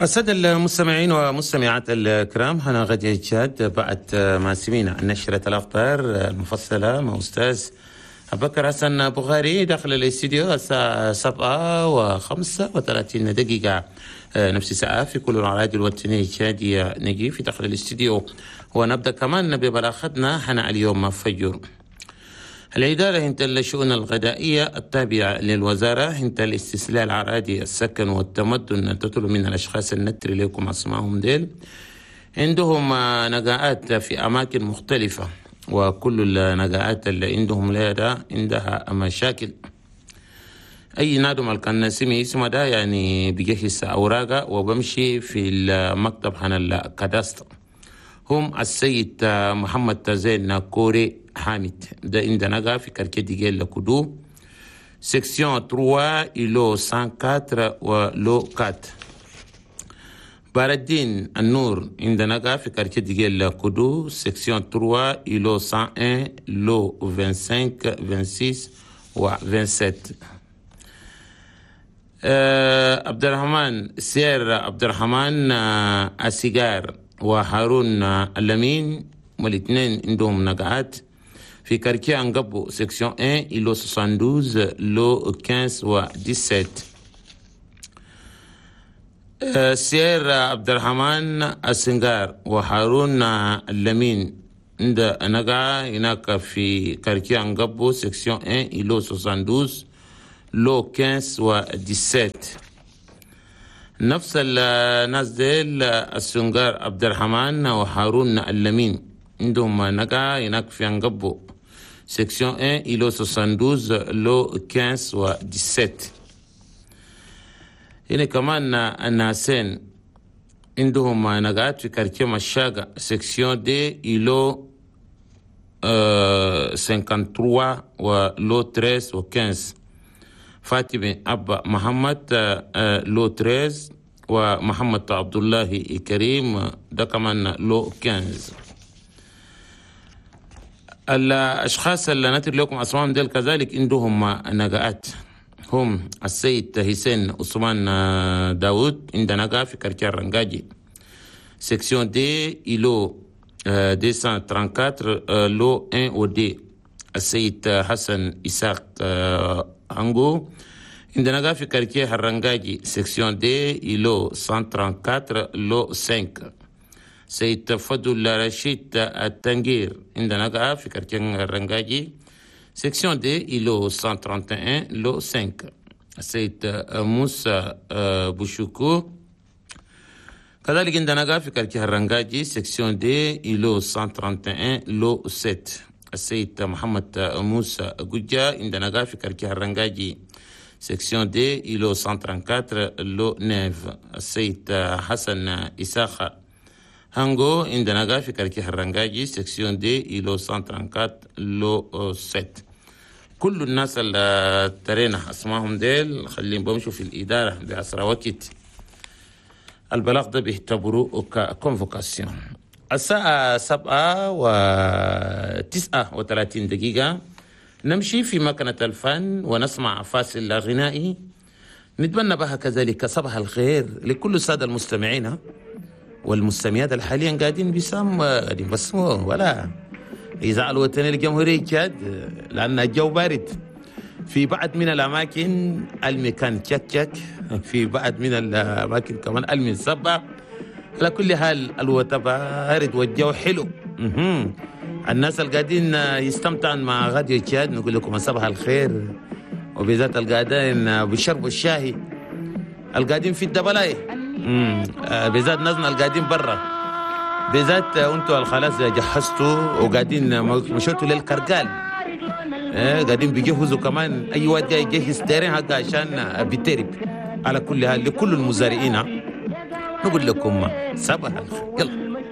السادة المستمعين ومستمعات الكرام، هنا راديو تشاد بعد ما سمينا نشرة الأخبار المفصلة مع أستاذ أبكر حسن بخاري داخل الاستديو الساعة 7:35، نفس الساعة في كل الأراضي الوطنية التشادية. نجي في داخل الاستديو ونبدأ كمان ببلاغتنا هنا اليوم فجر. الإدارة هنت الشؤون الغذائية التابعة للوزارة هنت الاستصلاح الأراضي السكن والتمدن تطلب من الأشخاص النتر لكم أسمائهم ديل عندهم نقاءات في أماكن مختلفة، وكل النقاءات اللي عندهم لها عندها مشاكل. أي نادم الكان سمي اسمه ده يعني بيجهز أوراقه وبمشي في المكتب هنا ال cadastre. هم السيد محمد زين كوري حامد ده عندنا في quartier ديجيل كودو section 3 îlot 104 و lot 4. باردين النور عندنا في quartier ديجيل كودو section 3 îlot 101 lot 25 26 و 27. عبد الرحمن سير عبد الرحمن السيجار وهارون اللمين والاثنين عندهم نقعات في quartier أنقبو section 1 îlot 72 lot 15 و 17. سير عبد الرحمن السنغار وهارون اللمين عند نقع هناك في quartier أنقبو section 1 îlot 72 lot 15 و 17. نفس الناس ديل السنغار عبد الرحمن وهارون اللمين عندهم نقع هناك في أنقبو section 1 îlot 72 lot 15 و 17. هنا كمان الناسين عندهم نقعات في quartier مشاقة section deux îlot 53 و lot 13 و 15. فاطمة أبا محمد lot 13 ومحمد عبد الله كريم ده كمان lot 15. الأشخاص اللي نتر لكم أسمائهم ديل كذلك عندهم نقاءات، هم السيد حسين عثمان داود عند نقا في quartier رنجاجي section deux îlot 234 lot 1 و deux. السيد حسن إساق هانجو عند نقا في quartier الرنجاجي section deux îlot 134 lot 5. سيد فضل رشيد التنجير عند نقا في quartier الرنجاجي section deux îlot 131 lot 5. السيد موسى بوشوكو كذلك عند نقا في quartier الرنجاجي section deux îlot 131 lot 7. السيد محمد موسى جوجا عند نقا في quartier الرنجاجي section deux îlot 134 lot 9. السيد حسن إساخة هانجو عند نقا في quartier الرنجاجي section deux îlot 134 lot 7. كل الناس اللي ترينا اسمائهم ديل خليهم بمشوا في الإدارة بأسرع وقت. البلاغ ده بيعتبروه ك convocation. الساعة 7:39 نمشي في مكنة الفن ونسمع فاصل غنائي نتمنى بها كذلك صباح الخير لكل السادة المستمعين والمستمعات اللي حاليا قاعدين بيسام قاعدين بسموا ولا إذاعة الوطنية للجمهورية تشاد، لأن الجو بارد في بعض من الأماكن المكان تشك تشك، في بعض من الأماكن كمان المنصبة. على كل حال الوطن بارد والجو حلو. الناس اللي قاعدين يستمتعون مع راديو تشاد نقول لكم صباح الخير، وبالذات القاعدين بيشربوا الشاهي، القاعدين في الدبلاي، بالذات ناسنا القاعدين برا، بالذات انتوا خلاص جهزتوا وقاعدين مشيتوا للكرقال، قاعدين بيجهزوا كمان اي واد جاي يجهز terrain حقه عشان بيترب. على كل حال لكل المزارعين نقول لكم صباح الخير. يلا.